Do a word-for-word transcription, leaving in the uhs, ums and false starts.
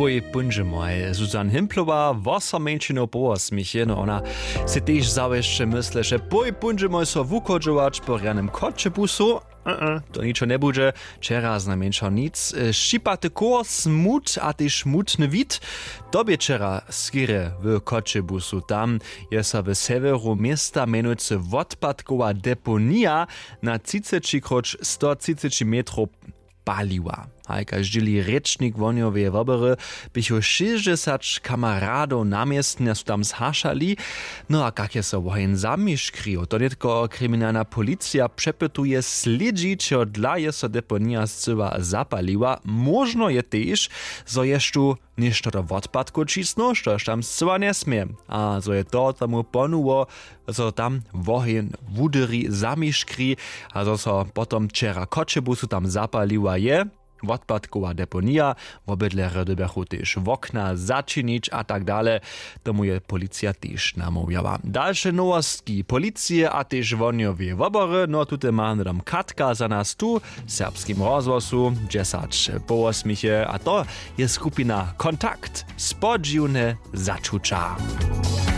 Pój póńdźemoj, Susan Himplowa, wosom mjeńšinow po wosmich je, no ona sej tež zawěsće mysleše, pój póńdźemoj so wuchodźować po rjanym choćebusu. E-e, to ničo njebudźe. Wčera znajmjeńšo nic. Šćipaty chór, smut a tež smutny wid. To bě wčera skerje w choćebusu. Tam je so w sewjeru města mjenujcy wotpadkowa deponija na třiceći króć sto třiceći metrow paliła. Haj, kaž dźěli rěčnik wohnjoweje wobory, běchu šěsćdźesać kameradow na městnje su tam zhašali. No a kak je so woheń zamiškrił, to nětko kriminalna policija přepytuje, slědźi čehodla je so deponija scyła zapaliła. Móžno je tež, zo je štó něšto do wotpadkow ćisnył, štož tam scyła njesmě, a zo je to tomu ponuło, zo tam woheń wudyri, zamiškri, a zo so potom wčera choćebusu tam zapaliła je wotpadkowa deponija. Wobydlerjo dyrbjachu tež wokna začinić a tak dale. Tomu je policija tež namołwjała. Dalše nowostki policije a tež wohnjoweje wobory, no tute ma hnydom Katka za nas tu w Serbskim rozhłosu, dźesać po wosmich je, a to je skupina Kontakt, spodźiwne začuća.